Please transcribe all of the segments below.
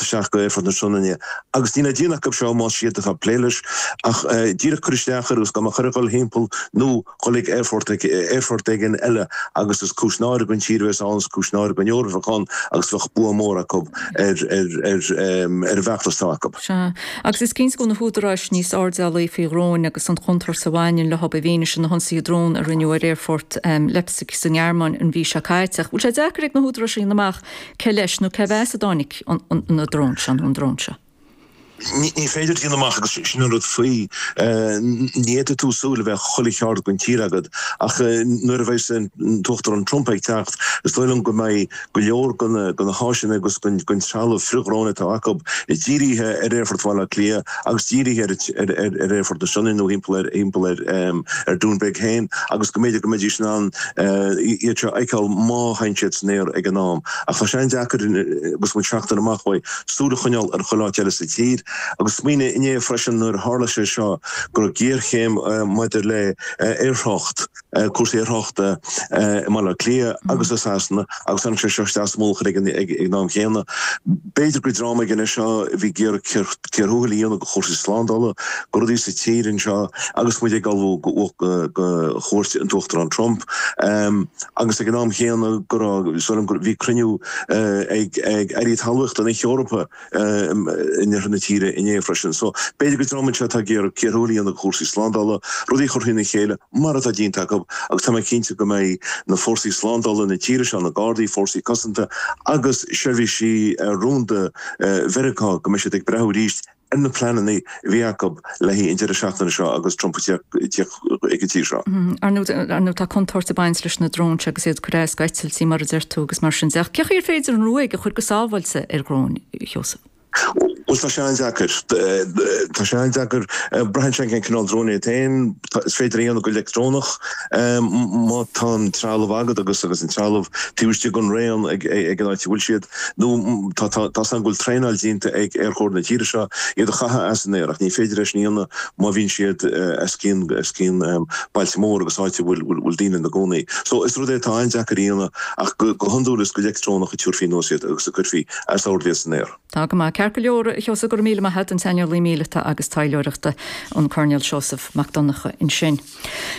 isteach go Aerfort na Sionainne agus níl le déanamh acu seo más iad atá ag plé leis ach díreach cur isteach air agus gabh mo chur ag dul thimpeall nó dhul ag aerfort aerfort éigin eile agus is cúis náire don tír a bheas ann, is cúis náire don Eoraip a bheadh ann agus bheadh bua mór acu ar ar ar ar an bhfeachtas atá acu. Sea. Agus is cinnte go bhfuil na húdaráis níos airdeallaí faoi dhróin agus an chontúirt a bhaineann leo i bhfianaise na hionsaithe drón a rinneadh ar aerfort Leipzig sa nGearmáin an mhí seo caite. Ach bhfuil sé deacair ag na húdaráis a dhéanamh amach cé leis nó cé as a dtáinig na dróin seo nó an drón seo? Ní féidir a dhéanamh amach agus sin an rud faoi. Ní fhéadfaidh tú súil a bheith chuile cheard den tír agat ach nuair a bheas an tUachtarán Trump ag teacht is dóigh liom go mbeidh go leor de na háiseanna agus den trealamh frithdhrón atá acu dírithe ar Aerfort Bhaile Átha Cliath agus dírithe ar Aerfort na Sionainne nó thimpeall ar Dún Beag féin agus go mb'fhéidir go mbeidís in ann iad seo a fheiceáil má théann siad san aer ag an am. Ach tá sé an-deacair agus muid seachtain amach uaidh súil a choinneáil ar chuile áit eile sa tír. Agus smaoinigh inné freisin nuair a tharla sé seo go raibh géarchéim maidir le aerthrácht, cúrsaí aerthráchta i mBaile Átha Cliath agus i Sasana agus tháinig sé seo isteach sa mullach ag an am chéanna. B'fhéidir gur dream éigin é seo a bhí ag iarraidh cíor thuathail a dhéanamh de chúrsaí slándála, de rudaí sa tír anseo agus muid ag ullmhú do chuairt an tUachtarán Trump. Agus ag an am chéanna go raibh, is dóigh liom go, bhí cruinniú ag airí talmhaíochta na hEorpa in oirthear na tíre inné freisin. So, b'fhéidir gur dream anseo atá ag iarraidh cíor thuathail a dhéanamh de chúrsaí slándála, rudaí a chur thrína chéile, mar atá déanta acu, agus tá mé cinnte go mbeidh na fórsaí slándála na tíre seo, na Gardaí, fórsaí cosanta agus seirbhísí rúnda Mheiriceá, go mbeidh siad ag breathnú arís ar na pleananna a bhí acu le haghaidh an deireadh seachtaine seo agus Trump ag tíocht chuig an tír seo. Ar ndóigh, tá contúirt ag baint leis na dróin seo agus iad ag cur as go eitiltí, mar a deir tú, agus mar sin de. Ach cén chaoi ar féidir an ruaig a chur go sábháilte ar dhrón, a Sheosaimh? Bhuel, tá sé an-deacair. Tá sé an-deacair. Braitheann sé cén cineál drón é féin. Is féidir é a dhéanamh go leictreonach má tá an trealamh agat agus agus an trealamh taobh istigh den raon ag an áit a bhfuil siad. Nó tá tá's agam go bhfuil traenáil déanta ag Aerchór na tíre seo iad a chaitheamh as an aer ach ní féidir é sin a dhéanamh má bhíonn siad os cionn os cionn bailte mór agus áit a bhfuil bhfuil daoine ina gcónaí. So is rud é atá an-deacair a dhéanamh ach go go hiondúil is go leictreonach a tabharfaí anuas iad agus a cuirfí as ord iad san aer. Tá go maith. Ceart go leor, a Sheosaimh, go raibh míle maith agat, an saineolaí míleata agus taidhleoireachta, an Coirnéal Seosamh Mac Donncha ansin.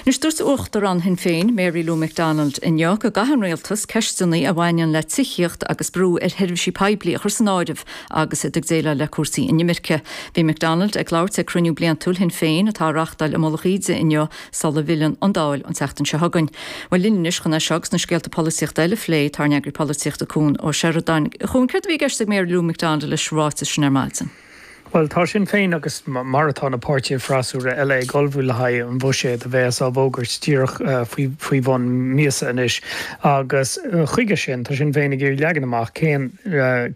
Anois, dúirt Uachtarán Shinn Féin, Mary Lou McDonald inniu go gcaithfidh an Rialtas ceisteanna a bhaineann le tithíocht agus brú ar sheirbhísí poiblí a chur san áireamh agus iad ag déileáil le cúrsaí inimirce. Bhí McDonald ag labhairt ag cruinniú bliantúil Shinn Féin atá á reáchtáil i Mullach Íde inniu sula bhfilleann an Dáil an tseachtain seo chugainn. Bhuel, linn anois chun é seo agus na scéalta polaitíochta eile a phlé, tá ár n-eagraí polaitíochta Cuan Ó Seireadáin. A Chuain, céard a bhí i gceist ag Mary Lou McDonald leis an ráiteas sin ar maidin? Bhuel, tá Sinn Féin agus mar atá na páirtithe freasúra eile ag ullmhú le haghaidh an bhuiséid a bheas á bhfógairt díreach faoi bhun míosa anois agus chuige sin tá Sinn Féin ag iarraidh leagan amach cén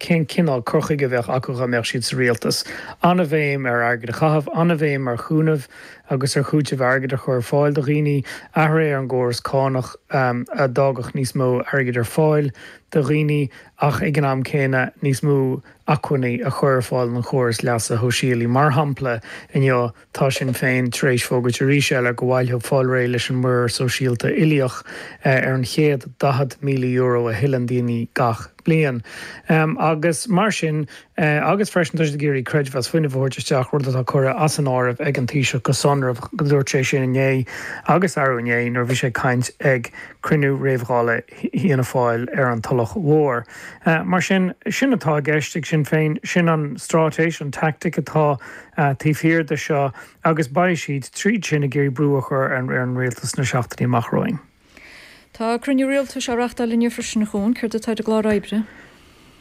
cén cineál cur chuige a bheadh acu dá mbeadh siad sa rialtas. An-bhéim ar airgead a chaitheamh, an-bhéim ar chúnamh agus ar chúiteamh airgid a chur ar fáil do dhaoine, athruithe ar an gcóras cánach a d'fhágfadh níos mó airgid ar fáil do dhaoine ach ag an am céanna níos mó acmhainní a chur ar fáil don chóras leasa shóisialaigh. Mar shampla, inniu tá Sinn Féin tar éis fógairt arís eile go bhfaighfeadh fáil réidh leis an muirear sóisialta uilíoch ar an chéad €40,000 a thuilleann daoine gach bliain. Agus mar sin, agus freisin tá siad ag iarraidh creidmheas fuinnimh a thabhairt isteach, rud atá curtha as an áireamh ag an Taoiseach go sonrach, dúirt sé sin inné agus arú inné nuair a bhí sé ag caint ag cruinniú réamh-Dhála Fhianna Fáil ar an Tulach Mhór. Mar sin, sin atá i gceist ag Sinn Féin, sin an straitéis, an tactic atá taobh thiar de seo agus beidh siad, tríd sin, ag iarraidh brú a chur ar an rialtas sna seachtainí amach romhainn. Tá cruinniú rialtais á reáchtáil inniu freisin, a Chuain. Céard atá ar an gclár oibre?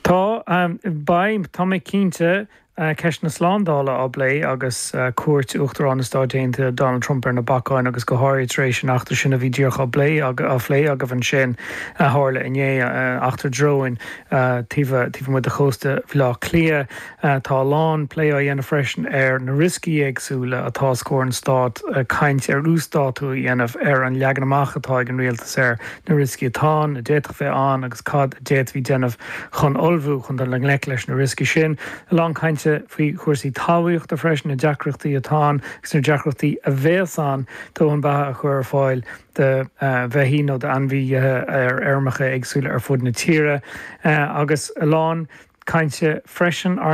Tá, beidh, tá mé cinnte, Ceist na slándála á bplé agus cuairt Uachtarán na Stáit Aontaithe Donald Trump ar na bacáin agus go háirithe tar éis an eachtra sin a bhí díreach á bplé á phlé agaibh ansin a tharla inné, eachtra dróin taobh amuigh de chósta Bhaile Átha Cliath. Tá a lán plé á dhéanamh freisin ar na rioscaí éagsúla atá os comhair an Stáit, caint ar uasdátú a dhéanamh ar an leagan amach atá ag an rialtas ar na rioscaí atá ann, a d'fhéadfadh bheith ann agus cad a d'fhéadfaí déanamh chun ullmhú chun dul i ngleic leis na rioscaí sin. A lán cainte faoi chúrsaí talmhaíochta freisin, na deacrachtaí atá ann agus na deacrachtaí a bheas ann dóthain beatha a chur ar fáil do bheithígh nó d'ainmhithe ar fheirmeacha éagsúla ar fud na tíre. Agus a lán cainte freisin ar.